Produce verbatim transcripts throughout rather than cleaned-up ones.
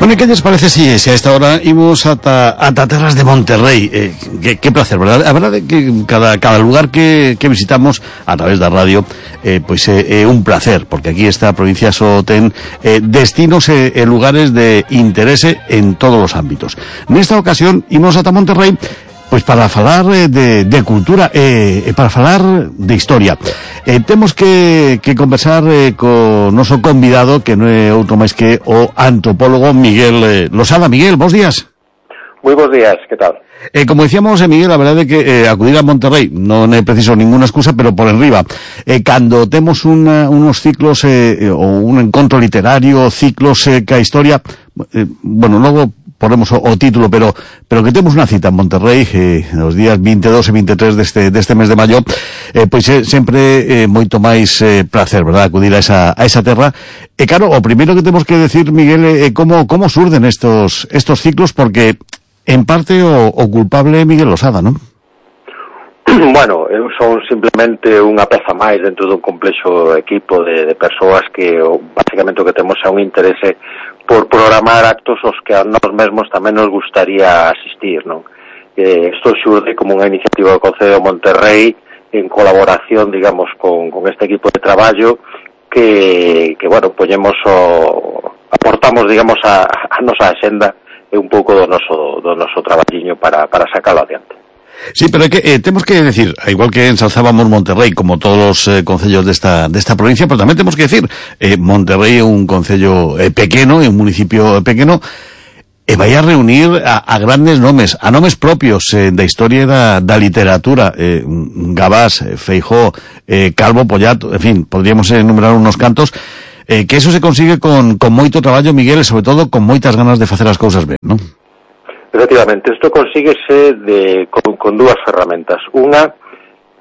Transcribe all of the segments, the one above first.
Bueno, ¿qué les parece si, si a esta hora íbamos ata, ata terras de Monterrey? Eh, qué, qué placer, ¿verdad? La verdad es que cada, cada lugar que, que visitamos a través de la radio, eh, pues eh, eh, un placer, porque aquí esta provincia solo ten eh, destinos e eh, lugares de interés en todos los ámbitos. En esta ocasión íbamos ata Monterrey pois para falar eh, de, de cultura e eh, para falar de historia. Eh, temos que, que conversar eh, co noso convidado, que non é outro máis que o antropólogo Miguel eh, Losada. Miguel, bons días. Moi bons días, que tal? Eh, como decíamos, eh, Miguel, a verdade é que eh, acudir a Monterrey non é preciso ninguna excusa, pero por enriba. Eh, cando temos una, unos ciclos eh, ou un encontro literario, ciclos eh, que a historia, eh, bueno, logo ponemos o, o título, pero pero que temos unha cita en Monterrey eh, nos días veintidós e veintitrés deste deste mes de maio, eh, pois é eh, sempre eh, moito máis eh, placer, verdad, acudir a esa a esa terra. E claro, o primeiro que temos que decir, Miguel, é eh, como como surden estos estos ciclos, porque en parte o, o culpable é Miguel Losada, non? Bueno, eu son simplemente unha peza máis dentro dun complexo equipo de, de persoas que o, basicamente o que temos é un interese por programar actos aos que a nós mesmos tamén nos gustaría asistir, non? Eh, isto xurde como unha iniciativa do Concello de Monterrey en colaboración, digamos, con, con este equipo de traballo que, que bueno, poñemos o, aportamos, digamos, a, a nosa axenda e un pouco do noso, do noso traballiño para, para sacarlo adiante. Sí, pero é que eh, temos que decir, igual que ensalzábamos Monterrey como todos los eh, concellos desta desta provincia, pero tamén temos que decir, eh, Monterrey é un concello eh, pequeno, é un municipio pequeno, e vai a reunir a, a grandes nomes, a nomes propios eh, da historia da, da literatura, eh, Gabás, eh, Feijóo, eh, Calvo, Pollato, en fin, podríamos enumerar unos cantos, eh, que eso se consigue con, con moito traballo, Miguel, e sobre todo con moitas ganas de facer as cousas ben, non? Efectivamente, isto consíguese de, con, con dúas ferramentas. Unha,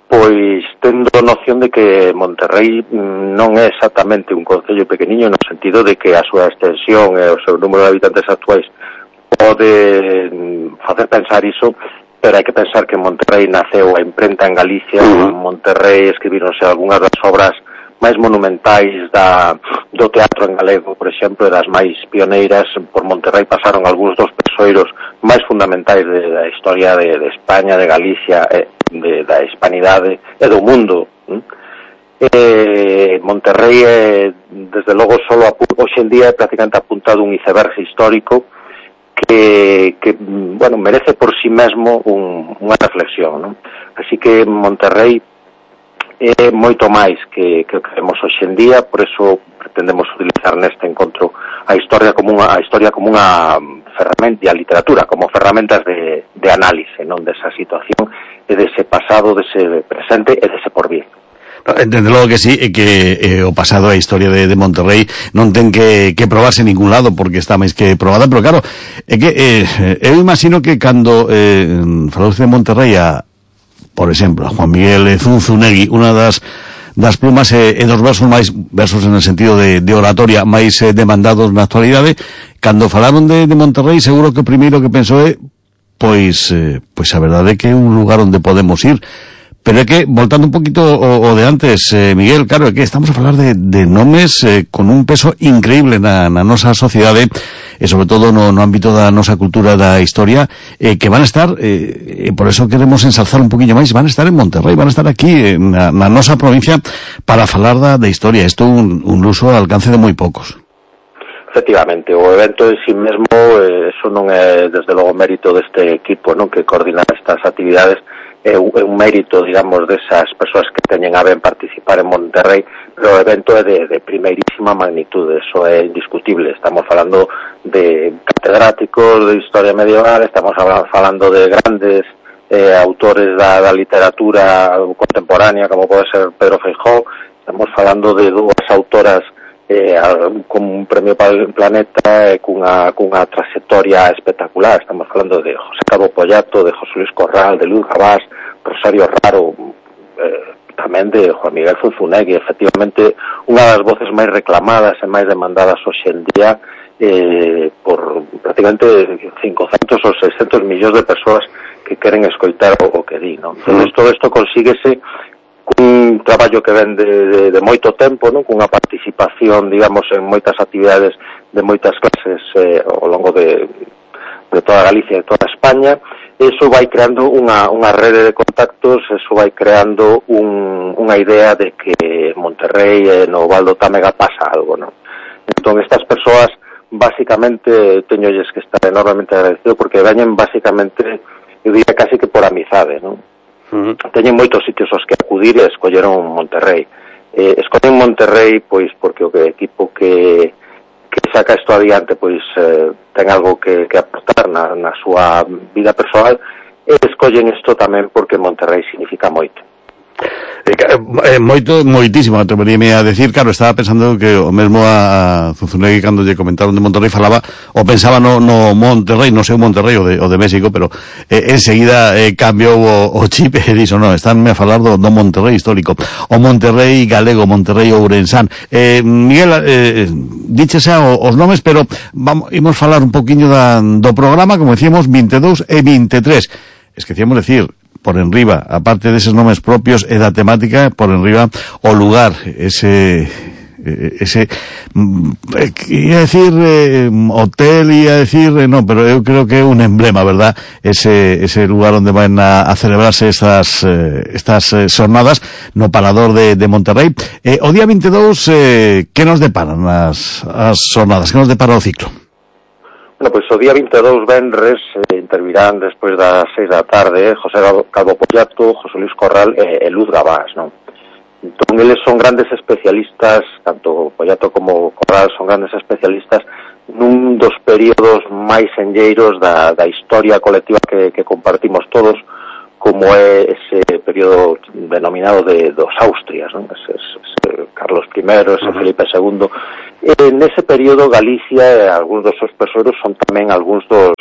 pois, tendo noción de que Monterrey non é exactamente un concello pequeniño no sentido de que a súa extensión e o seu número de habitantes actuais pode facer pensar iso, pero hai que pensar que Monterrey naceu a imprenta en Galicia, en Monterrey escribironse algunhas das obras máis monumentais da, do teatro en galego, por exemplo, das máis pioneiras. Por Monterrey pasaron algúns dos persoeiros máis fundamentais de, da historia de, de España, de Galicia, e, de, da hispanidade e do mundo. Eh, Monterrey é, desde logo, solo hoxe en día é prácticamente apuntado un iceberg histórico que, que bueno, merece por sí mesmo un, unha reflexión, non? Así que Monterrey é moito máis que, que o que vemos hoxe en día, por eso pretendemos utilizar neste encontro a historia como unha, a historia como unha ferramenta, e a literatura como ferramentas de, de análise, non, desa situación e dese pasado, dese presente e dese porvir. Entende logo que sí, e que eh, o pasado a historia de, de Monterrey non ten que, que probarse en ningún lado porque está máis que probada, pero claro, é que eh, eu imagino que cando eh, falouse de Monterrey a por exemplo, a Juan Miguel Zunzunegui, unha das das plumas e, e dos versos máis, versos en el sentido de, de oratoria, máis eh, demandados na actualidade, cando falaron de, de Monterrey, seguro que o primeiro que pensou é, pois, eh, pois a verdade é que é un lugar onde podemos ir. Pero é que, voltando un poquito o, o de antes, eh, Miguel, claro, é que estamos a falar de, de nomes eh, con un peso increíble na, na nosa sociedade, e sobre todo no, no ámbito da nosa cultura da historia, eh, que van a estar, eh, e por eso queremos ensalzar un poquinho máis, van a estar en Monterrey, van a estar aquí eh, na, na nosa provincia para falar da, da historia. Isto é un, un luso ao alcance de moi poucos. Efectivamente, o evento en sí mesmo, eh, eso non é desde logo mérito deste equipo, non, que coordina estas actividades, é un, é un mérito, digamos, desas persoas que teñen a ben participar en Monterrey, pero o evento é de, de primeirísima magnitude, eso é indiscutible. Estamos falando de catedráticos de historia medieval, estamos falando de grandes eh, autores da, da literatura contemporánea, como pode ser Pedro Feijóo, estamos falando de dúas autoras eh, con un premio Planeta e cunha, cunha trayectoria espectacular. Estamos falando de José Calvo Pollato, de José Luis Corral, de Luis Gabás, Rosario Raro, eh, tamén de Juan Miguel Zunzunegui. Efectivamente, unha das voces máis reclamadas e máis demandadas hoxe en día eh, por prácticamente cincocentos ou seiscentos millóns de persoas que queren escoitar o, o que di, non? Entón, todo isto consíguese cun traballo que ven de, de, de moito tempo, non? Cunha participación, digamos, en moitas actividades de moitas clases eh, ao longo de, de toda Galicia e de toda España. Eso vai creando unha, unha rede de contactos, eso vai creando un, unha idea de que en Monterrey e no Val do Támega pasa algo, non? Entón, estas persoas, basicamente, teñolles que estar enormemente agradecido porque veñen, basicamente, eu diría casi que por amizade, non? Uh-huh. Teñen moitos sitios aos que acudir e escolleron Monterrey. Eh, escollen Monterrey, pois, porque o equipo que... que saca isto adiante, pois eh, ten algo que, que aportar na, na súa vida persoal, e escollen isto tamén porque Monterrey significa moito. Eh, moito, moitísimo, atreveríame a decir. Claro, estaba pensando que o mesmo a Zunzunegui, cando lle comentaron de Monterrey, falaba, ou pensaba no, no Monterrey, non sei o Monterrey o de, o de México, pero eh, enseguida eh, cambiou o, o chip e dixo, non, estánme a falar do, do Monterrey histórico, o Monterrey galego, Monterrey ourensán. Eh, Miguel, eh, diches xa os nomes, pero vamos, imos falar un poquinho da, do programa, como decíamos, vinte e dous e vinte e tres. Esquecíamos decir, por enriba, aparte deses nomes propios e da temática, por enriba o lugar, ese ese ia decir eh, hotel, ia decir eh, no, pero eu creo que é un emblema, verdad, ese ese lugar onde van a, a celebrarse estas eh, estas eh, xornadas no Parador de, de Monterrey. Eh, o día vinte e dous, eh, que nos deparan as, as xornadas, que nos depara o ciclo? Bueno, pois o día vinte e dous, venres, eh, intervirán despois das seis da tarde José Calvo Pollato, José Luis Corral e, e Luz Gabás, non? Entón, eles son grandes especialistas, tanto Pollato como Corral son grandes especialistas nun dos períodos máis enlleiros da, da historia colectiva que, que compartimos todos, como é ese período denominado de dos Austrias, non? Ese, ese Carlos primero, ese uh-huh. Felipe segundo. En ese período Galicia e algúns dos seus persoeiros son tamén algúns dos,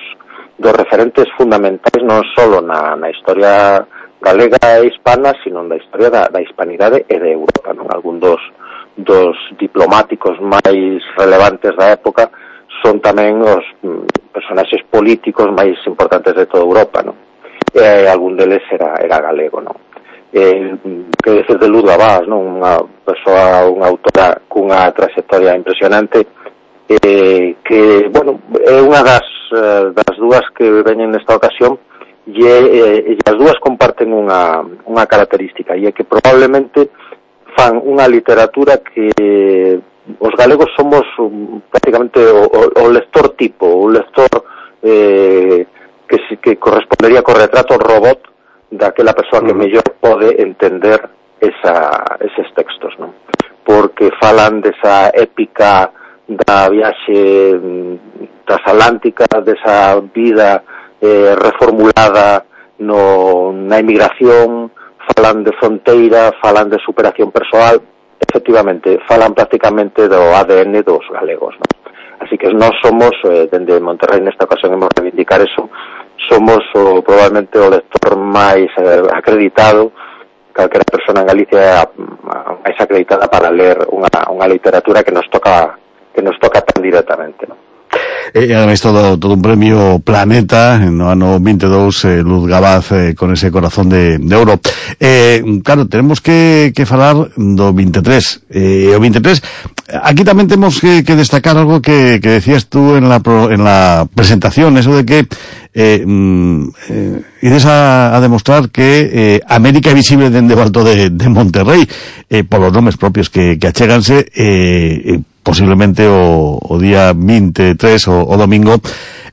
dos referentes fundamentais non só na, na historia galega e hispana, sino na historia da, da hispanidade e de Europa, non? Algún dos, dos diplomáticos máis relevantes da época son tamén os mm, personaxes políticos máis importantes de toda Europa, non? E algún deles era, era galego, non? Eh, que decir de Luz Gabás, non? Unha persoa, unha autora cunha trayectoria impresionante, eh, que, bueno, é unha das, das dúas que veñen nesta ocasión, e, eh, e as dúas comparten unha, unha característica, e é que probablemente fan unha literatura que os galegos somos prácticamente o, o, o lector tipo, o lector eh, que, que correspondería co retrato robot daquela persoa que mellor pode entender esa, eses textos, non? Porque falan desa épica da viaxe transatlántica, desa vida eh, reformulada no, na emigración, falan de fronteira, falan de superación persoal, efectivamente, falan prácticamente do A D N dos galegos, non? Así que nós somos, eh, dende Monterrey nesta ocasión hemos reivindicar eso, somos o, probablemente o lector máis eh, acreditado, calquera persona en Galicia é a, a máis acreditada para ler unha, unha literatura que nos toca que nos toca tan directamente, non? E eh, ademais todo, todo un premio Planeta no ano vinte e dous, eh, Luz Gabás eh, con ese corazón de, de ouro. Eh, claro, tenemos que, que falar do vinte e tres. Eh, o vinte e tres, aquí tamén temos que, que destacar algo que, que decías tú en la, pro, en la presentación, eso de que eh, eh, ides a, a demostrar que eh, América é visible dende o alto de, de Monterrey, eh, por los nomes propios que, que acheganse, eh, eh, posiblemente o, o día vinte e tres, o, o domingo,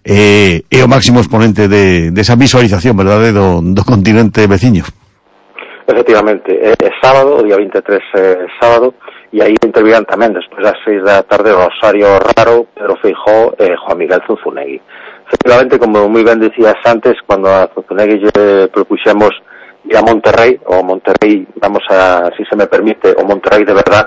eh, é o máximo exponente de, de esa visualización, verdade, do, do continente veciño. Efectivamente, é, é sábado, o día vinte e tres é sábado, e aí intervirán tamén, despois das seis da tarde, Rosario Raro, Pedro Feijóo e Juan Miguel Zunzunegui. Efectivamente, como moi ben decías antes, cando a Zunzunegui lle propuxemos ir a Monterrey, o Monterrey, vamos a, si se me permite, o Monterrey de verdad,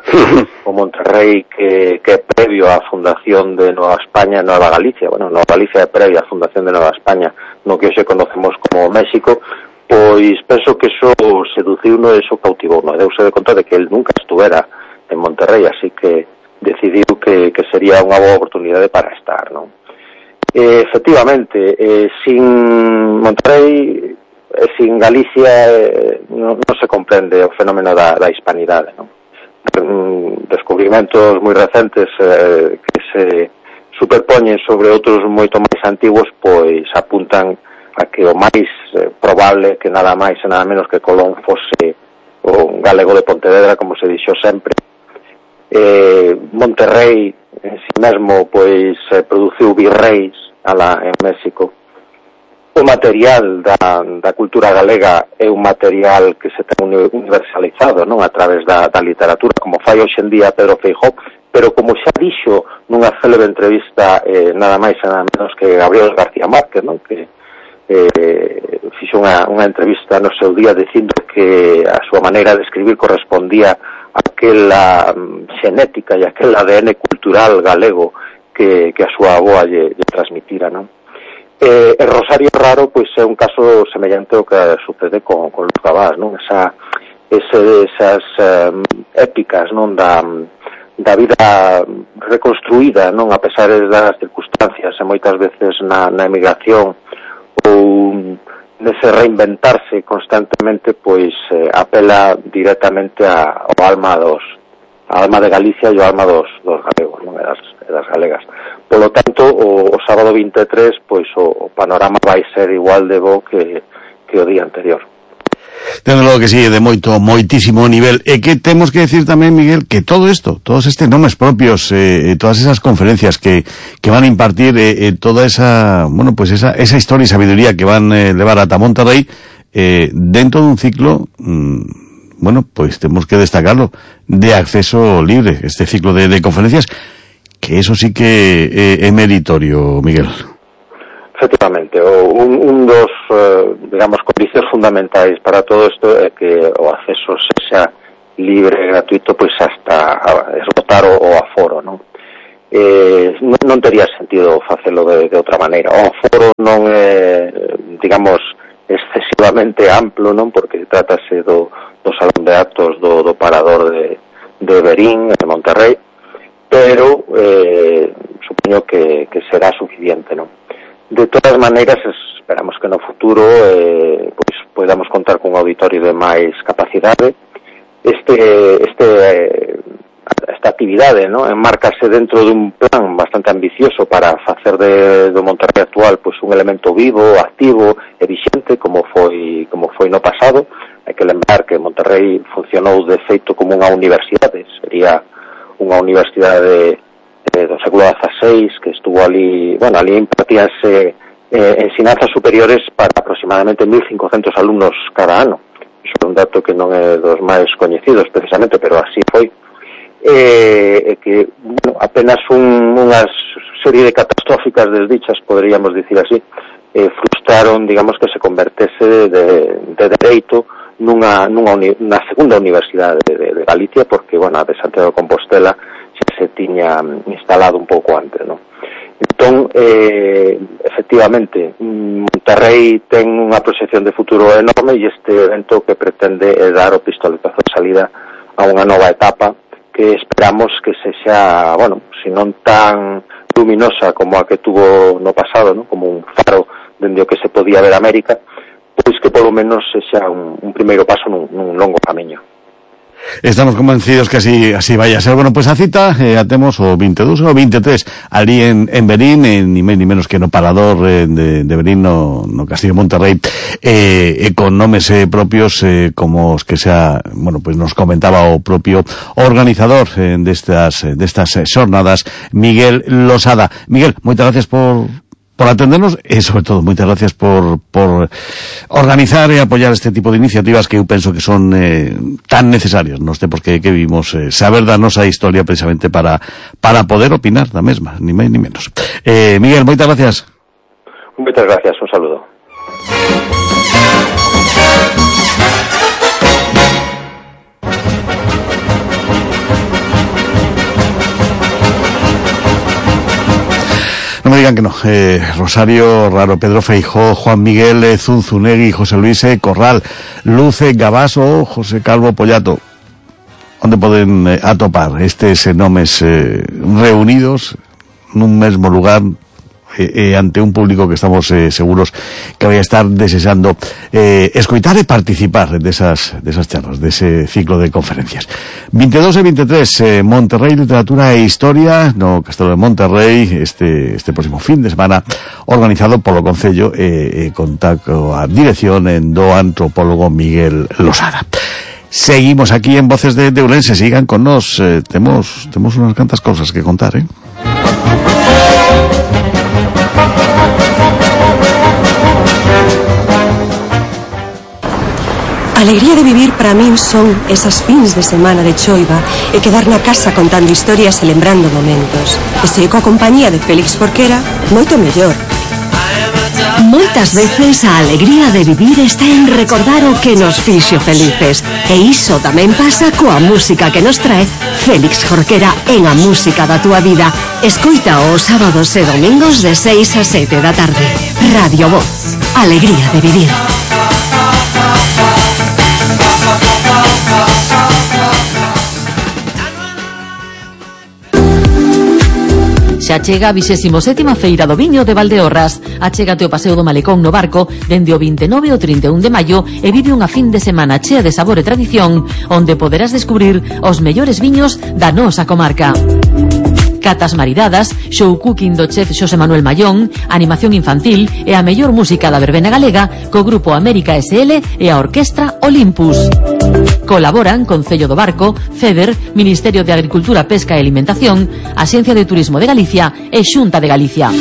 o Monterrey que, que é previo á fundación de Nueva España, Nueva Galicia, bueno, Nueva Galicia é previo á fundación de Nueva España, no que hoxe conocemos como México, pois penso que eso seduciu no, eso cautivou, no, deuse de conta de que el nunca estuvera en Monterrey, así que decidiu que, que sería unha boa oportunidade para estar, non? Eh, efectivamente, eh, sin Monterrey e sin Galicia eh, non, non se comprende o fenómeno da, da hispanidade, non? Descubrimentos moi recentes eh, que se superpoñen sobre outros moito máis antigos, pois apuntan a que o máis eh, probable que nada máis e nada menos que Colón fose o galego de Pontevedra, como se dixo sempre. eh, Monterrey en si mesmo pois eh, produciu virreis ala en México. O material da, da cultura galega é un material que se ten universalizado, non, a través da, da literatura, como fai hoxe en día Pedro Feijóo, pero como xa dixo nunha célebre entrevista eh, nada máis e nada menos que Gabriel García Márquez, non, que eh, fixo unha, unha entrevista no seu día dicindo que a súa maneira de escribir correspondía a aquela um, xenética e aquel A D N cultural galego que, que a súa avoa lle, lle transmitira, non? Eh, el Rosario Raro pois é un caso semellante ao que sucede con, con Luz Gabás, non? Esa, ese, esas um, épicas, non, da, da vida reconstruída, non, a pesar das circunstancias e moitas veces na, na emigración ou nese reinventarse constantemente, pois eh, apela directamente a, ao alma dos a alma de Galicia e o alma dos, dos galegos, non, e das, e das galegas. Polo tanto, o, o sábado vinte e tres, pois o, o panorama vai ser igual de bo que, que o día anterior. Desde logo que sí, de moito, moitísimo nivel. E que temos que decir tamén, Miguel, que todo isto, todos estes nomes propios, eh, todas esas conferencias que, que van a impartir, eh, eh, toda esa, bueno, pues esa, esa historia y sabiduría que van a eh, levar ata Monterrey, eh, dentro dun ciclo, mmm, bueno, pues tenemos que destacarlo, de acceso libre, este ciclo de, de conferencias, que eso sí que é, é meritorio, Miguel. Efectivamente, o, un, un dos, eh, digamos, condicións fundamentais para todo isto é que o acceso sexa libre e gratuito, pois hasta esgotar o, o aforo, non? Eh, non, non tería sentido facelo de, de outra maneira. O aforo non é, digamos, excesivamente amplo, non? Porque trátase do do salón de actos do, do parador de, de Verín, de Monterrey, pero eh, supoño que, que será suficiente, non? De todas maneiras, esperamos que no futuro eh, pois podamos contar cun auditorio de máis capacidade. Este, este, eh, esta actividade, non, enmárcase dentro dun plan bastante ambicioso para facer de, do Monterrey actual pois un elemento vivo, activo e vixente, como foi, como foi no pasado. Hai que lembrar que Monterrey funcionou de feito como unha universidade, sería unha universidade de, do século dieciséis que estuvo ali, bueno, ali impartíanse eh, ensinanzas superiores para aproximadamente mil cincocentos alumnos cada ano. Iso é un dato que non é dos máis coñecidos precisamente, pero así foi. Eh, que, bueno, apenas un, unha serie de catastróficas desdichas, poderíamos dicir así, eh, frustraron, digamos, que se convertese de, de dereito nunha, nunha uni, na segunda universidade de, de, de Galicia, porque, bueno, a de Santiago de Compostela xa se tiña instalado un pouco antes, non? Entón, eh, efectivamente, Monterrey ten unha proxección de futuro enorme e este evento que pretende é dar o pistoletazo de salida a unha nova etapa que esperamos que se xa, bueno, se non tan luminosa como a que tuvo no pasado, non? Como un faro dende o que se podía ver América, pois que polo menos sexa un, un primeiro paso nun, nun longo camiño. Estamos convencidos que así así vaya a ser. Bueno, pues a cita eh, atemos o vinte e dous ou vinte e tres ali en, en Verín, en, ni máis ni menos que no parador eh, de, de Verín no, no Castillo de Monterrey, eh, eh, con nomes eh, propios eh, como os que xa, bueno, pues nos comentaba o propio organizador eh, destas destas eh, xornadas, Miguel Losada. Miguel, moitas gracias por por atendernos e, sobre todo, moitas gracias por, por organizar e apoyar este tipo de iniciativas que eu penso que son eh, tan necesarias nos tempos que, que vivimos, eh, saber da nosa historia precisamente para, para poder opinar da mesma, ni máis ni menos. Eh, Miguel, moitas gracias. Moitas gracias, un saludo. No me digan que no. Eh, Rosario Raro, Pedro Feijóo, Juan Miguel eh, Zunzunegui, José Luis eh, Corral, Luce Gabaso, José Calvo Pollato. Onde poden eh, atopar estes eh, nomes eh, reunidos nun mesmo lugar eh, eh, ante un público que estamos eh, seguros que vai a estar desexando eh, escoitar e participar desas, desas charlas, dese ciclo de conferencias. veintidós e veintitrés, eh, Monterrey, Literatura e Historia, no Castelo de Monterrey, este, este próximo fin de semana, organizado polo Concello, e eh, eh, conta coa dirección en do antropólogo Miguel Losada. Seguimos aquí en Voces de, de Ourense, sigan con nos, eh, temos, temos unas cantas cosas que contar, eh. A alegría de vivir para min son esas fins de semana de choiva e quedar na casa contando historias e lembrando momentos. E se coa compañía de Félix Jorquera, moito mellor. Moitas veces a alegría de vivir está en recordar o que nos fixo felices. E iso tamén pasa coa música que nos trae Félix Jorquera en A Música da Túa Vida. Escoita os sábados e domingos de seis a sete da tarde. Radio Voz. Alegría de vivir. Xa chega a vixésima sétima Feira do Viño de Valdeorras. Achégate ao Paseo do Malecón no Barco dende o vinte e nove ao trinta e un de maio e vive unha fin de semana chea de sabor e tradición onde poderás descubrir os mellores viños da nosa comarca. Catas maridadas, show cooking do chef Xosé Manuel Mallón, animación infantil e a mellor música da verbena galega co Grupo América S L e a Orquestra Olympus. Colaboran Concello do Barco, FEDER, Ministerio de Agricultura, Pesca e Alimentación, Axencia de Turismo de Galicia e Xunta de Galicia.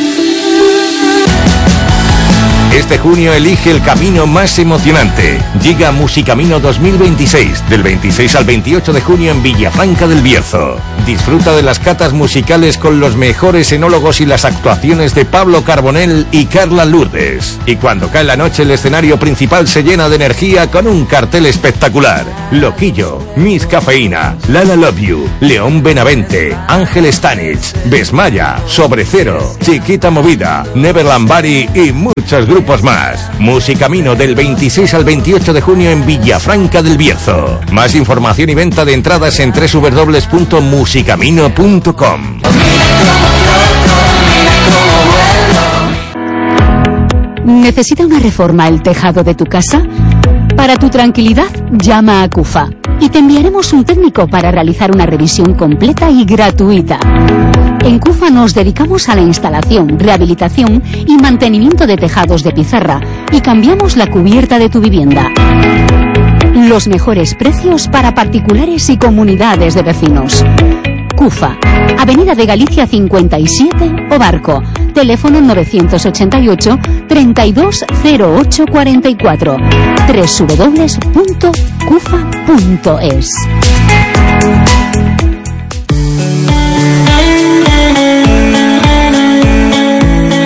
Este junio elige el camino más emocionante. Llega Musicamino dos mil veintiséis, del veintiséis al veintiocho de junio en Villafranca del Bierzo. Disfruta de las catas musicales con los mejores enólogos y las actuaciones de Pablo Carbonell y Carla Lourdes. Y cuando cae la noche el escenario principal se llena de energía con un cartel espectacular. Loquillo, Miss Cafeína, Lala Love You, León Benavente, Ángel Stanich, Besmaya, Sobre Cero, Chiquita Movida, Neverland Bari y muchos grupos más. Musicamino del veintiséis al veintiocho de junio en Villafranca del Bierzo. Más información y venta de entradas en doble u doble u doble u punto musicamino punto com. ¿Necesita una reforma el tejado de tu casa? Para tu tranquilidad, llama a CUFA y te enviaremos un técnico para realizar una revisión completa y gratuita. En CUFA nos dedicamos a la instalación, rehabilitación y mantenimiento de tejados de pizarra y cambiamos la cubierta de tu vivienda. Los mejores precios para particulares y comunidades de vecinos. CUFA, Avenida de Galicia cincuenta y siete, O Barco. Teléfono novecientos ochenta y ocho, treinta y dos cero ocho cuarenta y cuatro. doble u doble u doble u punto cufa punto es.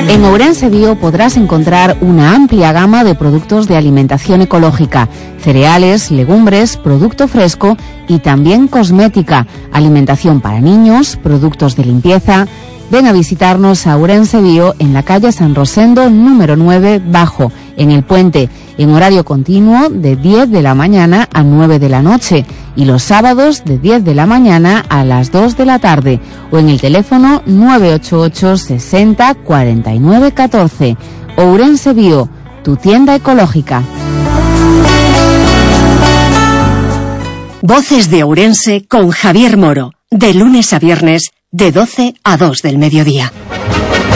En Ourense Bio podrás encontrar una amplia gama de productos de alimentación ecológica, cereales, legumbres, producto fresco y también cosmética, alimentación para niños, productos de limpieza. Ven a visitarnos a Ourense Bio en la calle San Rosendo número nueve Bajo, en el Puente, en horario continuo de diez de la mañana a nueve de la noche y los sábados de diez de la mañana a las dos de la tarde o en el teléfono nueve ocho ocho sesenta cuarenta y nueve catorce. Ourense Bio, tu tienda ecológica. Voces de Ourense con Javier Moro, de lunes a viernes, de doce a dos del mediodía.